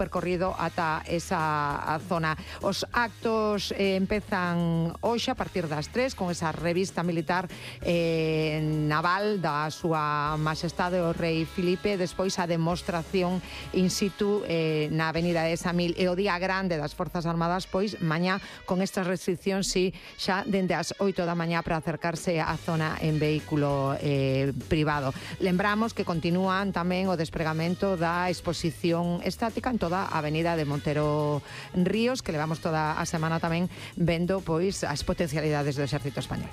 percorrido ata esa zona. Os actos empezan hoxe a partir das 3 con esa revista militar naval da súa Majestade o Rei Filipe, despois a demostración in situ na Avenida de Samil, e o día grande das Forzas Armadas, pois mañá con estas restriccións xa dende as 8 da mañá para acercarse á zona en vehículo privado. Lembramos que continúan tamén o despregamento da exposición estática en toda a Avenida de Montero Ríos, que levamos toda a semana tamén vendo pois as potencialidades do Exército Español.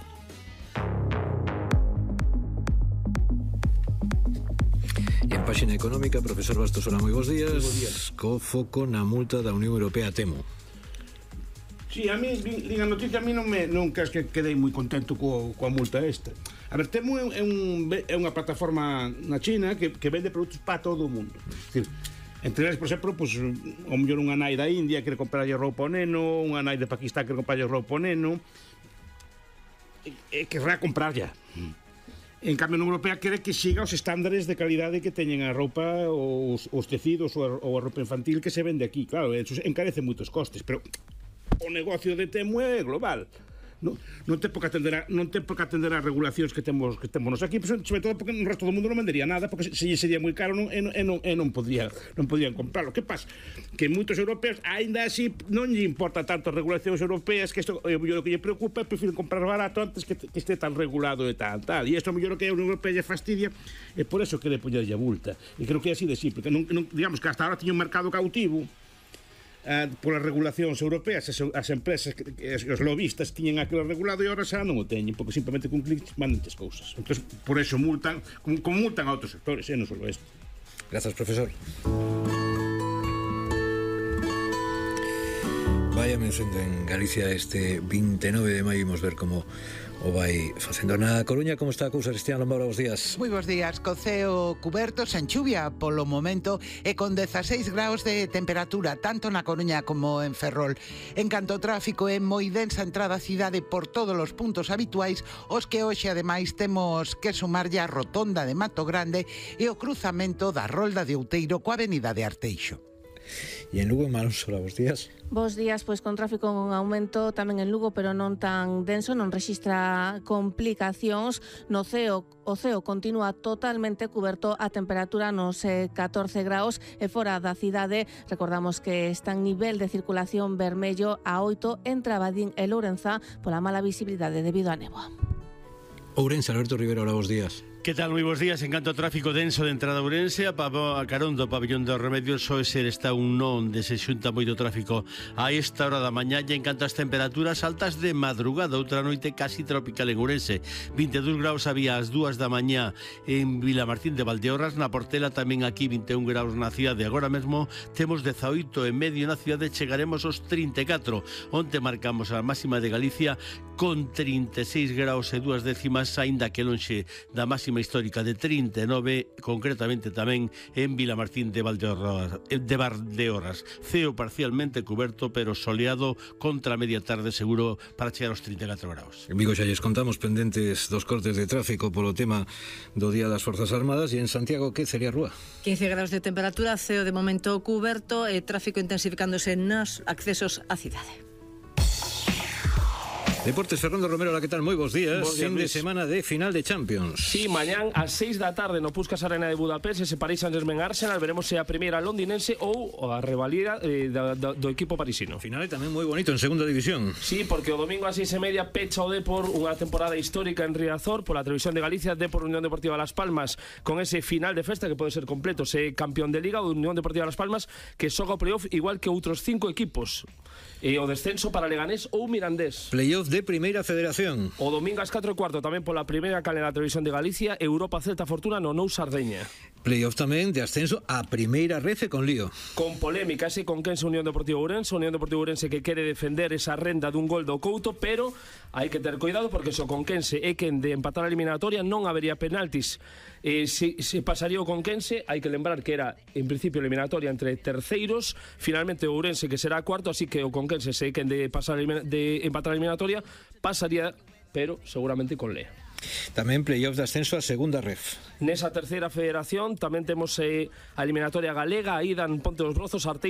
E en páxina económica, profesor Bastos, moi bons días. Co foco na multa da Unión Europea, temo. Sí, a mí, din a noticia, a mí nunca es que quedei moi contento coa multa esta. A ver, Temu é unha plataforma na China que vende produtos para todo o mundo. É dicir, entre eles, por exemplo, pues, o mellor unha nai da India quere comprarlle roupa ao neno, unha nai de Pakistán quere comprarlle roupa ao neno, e querrá comprar ya. En cambio, a Unión Europea quere que siga os estándares de calidade que teñen a roupa, os tecidos ou a roupa infantil que se vende aquí. Claro, eso encarece moitos costes, pero o negocio de Temu é global. Non ten por que atender as regulacións que temos nos aquí, sobre todo porque no resto do mundo non vendería nada, porque se sería moi caro e non podían comprarlo. Que pasa? Que moitos europeos, aínda así, non lle importa tanto as regulacións europeas, que isto o mellor que lle preocupa é prefiren comprar barato antes que este tan regulado e tal. E isto o mellor que a Unión Europea lle fastidia, e por eso quere poñerlle a multa. E creo que é así de simple, que digamos que hasta ahora tiña un mercado cautivo polas regulacións europeas, as empresas, os lobistas tiñen aquilo regulado e agora xa non o teñen, porque simplemente con clics mandan as cousas. Entón, por eso multan, como multan a outros sectores, non só isto. Grazas, profesor. Vai amencendo en Galicia este 29 de maio, imos ver como o vai facendo. Na Coruña, como está a cousa, Cristian Lombora, bos días. Moi bos días, co ceo cuberto, sen chuvia polo momento e con 16 graus de temperatura, tanto na Coruña como en Ferrol. En canto ao tráfico, é moi densa entrada á cidade por todos os puntos habituais, os que hoxe ademais temos que sumarlle a rotonda de Mato Grande e o cruzamento da Rolda de Outeiro coa avenida de Arteixo. E en Lugo, Manusola, bos días. Bos días, pois con tráfico en aumento tamén en Lugo, pero non tan denso, non rexistra complicacións. No ceo, o ceo continúa totalmente cuberto, a temperatura nos 14 graus e fora da cidade recordamos que está en nivel de circulación vermello a 8 entre Abadín e Lourenza pola mala visibilidade debido á néboa. Ourense, Alberto Rivera, hola, bos días. Que tal? Moi bons días. En canto ao tráfico denso de entrada a Ourense, a carón do pabellón dos Remedios, só ser está un non onde se xunta moito tráfico a esta hora da mañá. E en canto ás temperaturas altas de madrugada, outra noite casi tropical en Ourense. 22 graus había ás 2 da mañá en Vilamartín de Valdeorras, na Portela tamén aquí 21 graus na cidade. Agora mesmo temos 18 e medio na cidade, chegaremos aos 34. Onte marcamos a máxima de Galicia con 36 graus e 2 décimas, aínda que lonxe da máxima histórica de 39, concretamente tamén en Vilamartín de Valdeorras. Ceo parcialmente cuberto, pero soleado contra a media tarde seguro para chegar aos 34 graus. En Vigo xa lles contamos pendentes dos cortes de tráfico polo tema do Día das Forzas Armadas. E en Santiago, que sería a rúa? 15 graus de temperatura, ceo de momento cuberto e tráfico intensificándose nos accesos á cidade. Deportes, Fernando Romero, la que tal? Moi bons días. Fin de semana de final de Champions. Sí, mañán ás 6 da tarde no Puskás Arena de Budapest, ese Paris Saint-Germain Arsenal, veremos se a primeira londinense ou a rivalidad do equipo parisino. Final tamén moi bonito en segunda división. Sí, porque o domingo ás 6:30 pecha o Depor unha temporada histórica en Riazor pola televisión de Galicia. Depor Unión Deportiva Las Palmas con ese final de festa que pode ser completo, se campeón de Liga, Unión Deportiva Las Palmas que xoga o playoff igual que outros 5 equipos. E o descenso para Leganés ou Mirandés. Playoff de Primeira Federación. O domingo ás 4:15 tamén pola primeira canle da televisión de Galicia, Europa Celta Fortuna no Nou Sardeña. Playoff tamén de ascenso a Primeira Rece con lío. Con polémica ese Conquense Unión Deportiva Ourense, Unión Deportiva Ourense que quere defender esa renda dun gol do Couto, pero hai que ter cuidado porque se o Conquense é quen de empatar a eliminatoria non habería penaltis. Se pasaría o Conquense, hai que lembrar que era en principio eliminatoria entre terceiros, finalmente o Ourense que será cuarto, así que o Conquense se é quen de empatar a eliminatoria pasaría, pero seguramente con Lea. Tamén playoff de ascenso a segunda ref. Nesa terceira federación tamén temos a eliminatoria galega, aí dan Ponte dos Brozos, Arteixo